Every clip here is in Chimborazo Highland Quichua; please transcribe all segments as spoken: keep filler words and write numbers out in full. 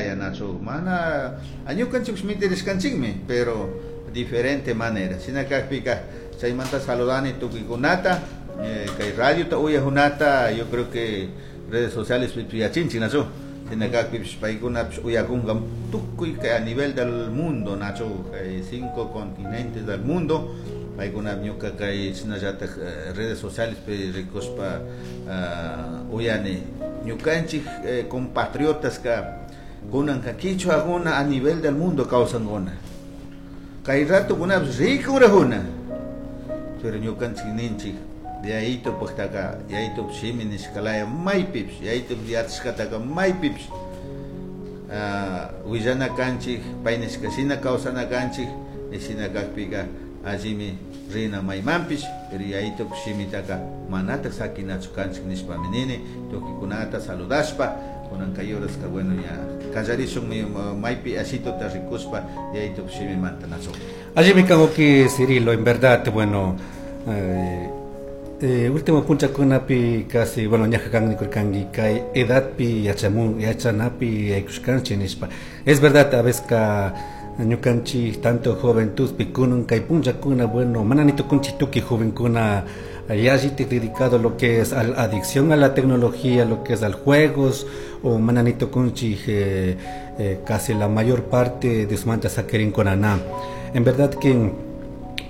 laya nachu mana ñukanchik mitirishkanchikmi, pero diferente manera. Shina kakpika chaymanta saludani tukuykunata, eh, kay radiota uyajunata. Yo creo que redes sociales yachinchik, nachu? Shina kakpipish paykunapish uyakunka tukuy kay a nivel del mundo, nachu? Kay cinco continentes del mundo paykuna ñuka kay shinallatak eh, redes sociales pi rikushpa uh, uyani ñukanchik eh, compatriotas ka kunanka kichwakuna a nivel del mundo kawsankuna, kay ratukunapish rikunrajuna. Pero ñukanchik ninchik yayito paktaka yayito shimi nishkalaya maypipish yayito yachashkataka maypipish uh, willana kanchik, pay nishka shina kawsana kanchik. Shina kakpika allimi rina maymanpish, pero yayito shimitaka manatak sakinachu kanchik nishpami nini tukuykunata saludashpa. Kunan kay horaska, bueno, ya kallarishunmi maypi ashituta rikushpa yayito shimimanta, nachu? Allimi kan, wawki Cirilo, en verdad, bueno, eh, eh, último punchakunapi casi, bueno, ñaja kan nikurkanki kay edadpi yachamun yachanapi yaykushkanchik nishpa. Es verdad, a veces ka ñukanchik tanto juventudpi kunan kay punchakuna, bueno, mana ni tukunchik tukuy jovenkuna yallitik dedicado a lo que es a la adicción a la tecnología, lo que es al juegos, o mana ni tukunchik eh, eh, casi la mayor parte de su saquirinkuna na. En verdad que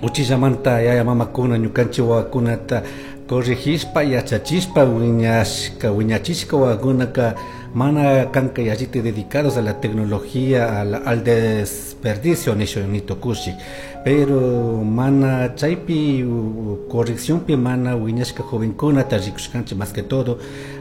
uchillamanta yaya mamakuna ñukanchik wawakunata corregishpa yachachishpa wiñashka wiñachishka wawakunaka mana kanka yallita dedicados a la tecnología, al, al desperdicio nishu nitukushik, pero mana chaypi correcciónpi mana wiñashka jovenkunata rikushkanchik, más que todo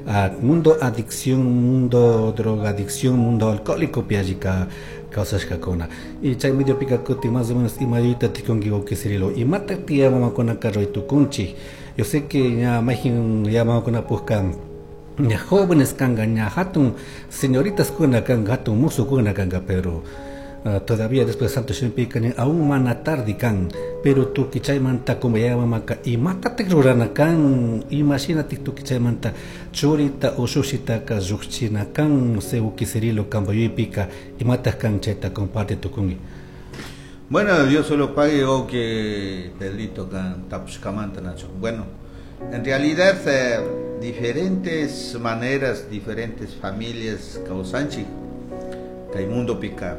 a mundo adicción, mundo drogadicción, mundo alcohólico pi allika kawsashkakuna. Y chay mediopika kutin más o menos imayuyta tikunki, wawki Cirilo, imatak tiya mamakunaka ruray tukunchik? Yo sé que ña mayjin ya mamakunapukka ña jóvenes kanka, ña hatun señoritas kuna kanka, hatun musukuna kanka, pero uh, todavía después de santo shimipika aún mana tarde kan, pero tukuy chaymanta como yaya mamaka imatatak rurana kan, imashinatik tukuy chaymanta churita ushushitaka llukchina kan? Wawki Cirilo, kampa yuyaypika imatak kan, chayta comparte tukunki. Bueno, Dios solo pague o que Pedrito kan tapushkamanta, nachu. Bueno, en realidad eh, diferentes maneras, diferentes familias kawsanchik kay mundopika.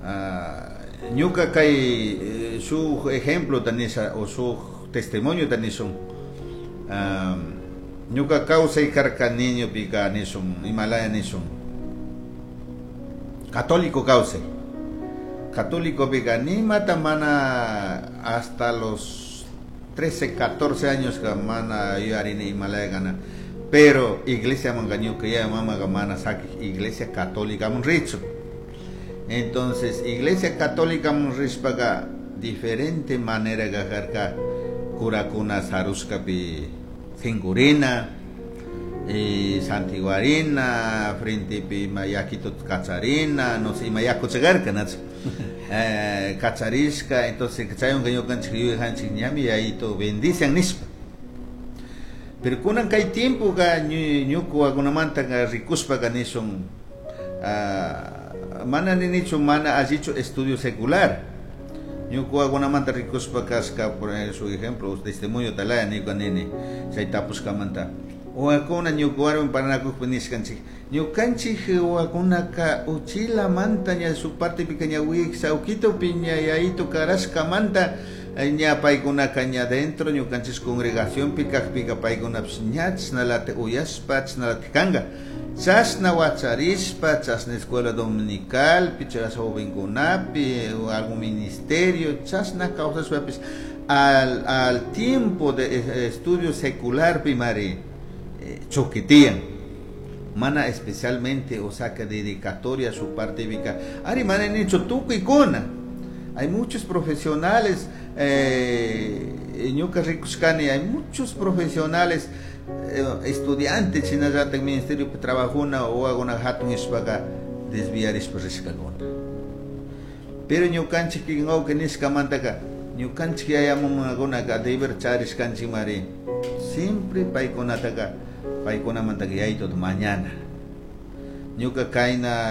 Uh, ñuka kay eh, shuk ejemplo tanisha o shuk testimonio tanishun. Um, ñuka kawsay karka niño pika nishun imalaya nishun católico kawsay católico pika nimata mana hasta los trece, catorce años ka mana yuyarini imalaya kana, pero iglesia manka ñuka yaya mamaka mana sakik iglesia católica mun richu. Entonces iglesia católica mun rishpaka diferente manera kajarka, curakuna sarushkapi sinkurina y santiguarina frentepi ima yakituta kacharina, no sé, ima yaku chagarka, nachu? eh, kacharishka. Entonces chaywanka ñukanchik yuyajanchik ñami yayito bendician nishpa. Pero kunan kay tiempo ka ñuka wawakunamanta rikushpaka nishun uh, mana ninichu mana allichu estudio secular. Ñuka wawakunamanta rikushpa kashka, por su ejemplo, testimonio talaya ñuka nini chay tapushkamanta wawakuna ñuka warmi parlanakukpi nishkanchik ñukanchik wawakunaka uchilamanta ña shuk partepika ña wiksa ukitupi ña yayito karashkamanta ña paykunaka ña dentro ñukanchik congregacionpi kakpika paykunapish ña chashnalatik uyashpa chashnalatik kanka, chashna wacharishpa, chashna escuela dominicalpi, chashna jovenkunapi, algún ministerio, chashna kawsashpapish al, al tiempo de estudio secular mari eh, choquetean mana especialmente, o sea, que dedicatoria a su parte bíblica ari mana nicho tukuykuna. Hay muchos profesionales, eh, ñuka rikushkani hay muchos profesionales eh, estudiantes shinallatak ministerio trabajuna o wawakuna hatun ishpaka desviarishpa rishkakuna. Pero ñukanchik wawqi nishkamantaka ñukanchik yaya mamakunaka deber charishkanchik mari siempre paykunataka paykunamantaka yayituta mañana ñuka kayna.